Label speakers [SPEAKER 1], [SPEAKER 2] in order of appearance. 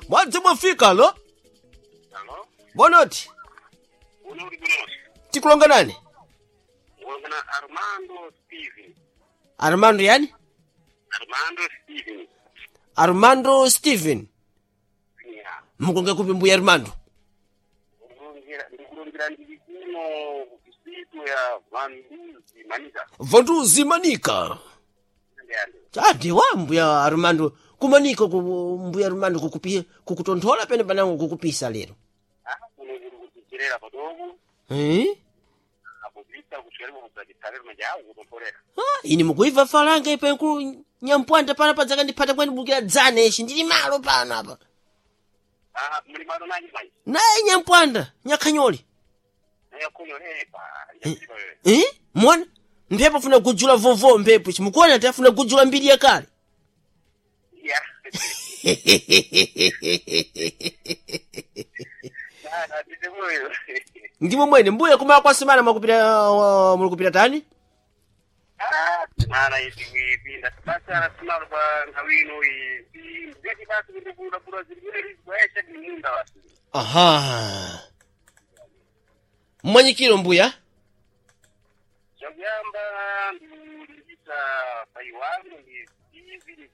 [SPEAKER 1] Mwadzi mwafika lo.
[SPEAKER 2] Alo,
[SPEAKER 1] Bonoti.
[SPEAKER 2] uno uri kunosi.
[SPEAKER 1] Tikulonga nani?
[SPEAKER 2] Ulongana Armando Steven.
[SPEAKER 1] Armando yani?
[SPEAKER 2] Armando Steven.
[SPEAKER 1] Armando Steven.
[SPEAKER 2] Yeah.
[SPEAKER 1] Mukonge kupi mbuya Armando?
[SPEAKER 2] Ndikulongera ndili kuno kusitu ya Vanduzi Manika.
[SPEAKER 1] Vanduzi Manika.
[SPEAKER 2] Ndiyande.
[SPEAKER 1] Adi wa mbuya Armando kumanika ku mbuya Armando kukupi kukutonthola pene panango kukupisa lero.
[SPEAKER 2] Ah, kuno kuri kuchicherera padogo.
[SPEAKER 1] Eh?
[SPEAKER 2] Akupita kuchikaribu kudzachitsalero majawu kutontholera.
[SPEAKER 1] Ah, ini mukuibva falanga ipa ku nyampwanda pana padzaka ndiphata kwani bukira dzana ishi ndili malo pano apa.
[SPEAKER 2] Ah, muli malo nanji manje.
[SPEAKER 1] Naye nyampwanda nyakhanyoli.
[SPEAKER 2] Naye kuno lepa. Njasipa wewe.
[SPEAKER 1] Eh? Mwana mphepo afuna kujula vovo mphepo chimukuona ati afuna kujula mbiri yakale.
[SPEAKER 2] Yeah. Ah, ndite moyo.
[SPEAKER 1] Ndimo mwene mbuya kumala kwa semana mwakupita mulikupita tani?
[SPEAKER 2] Ah, mara ipinda basa rasimalo pa nthawi ino iyi ndeti basi kuti kulapula zilikuti zikuyesha ni munda basi.
[SPEAKER 1] Aha. Mmwanyikiro mbuya?
[SPEAKER 2] Chakuyamba ndikulimbikitsa pai wangu ndi Steven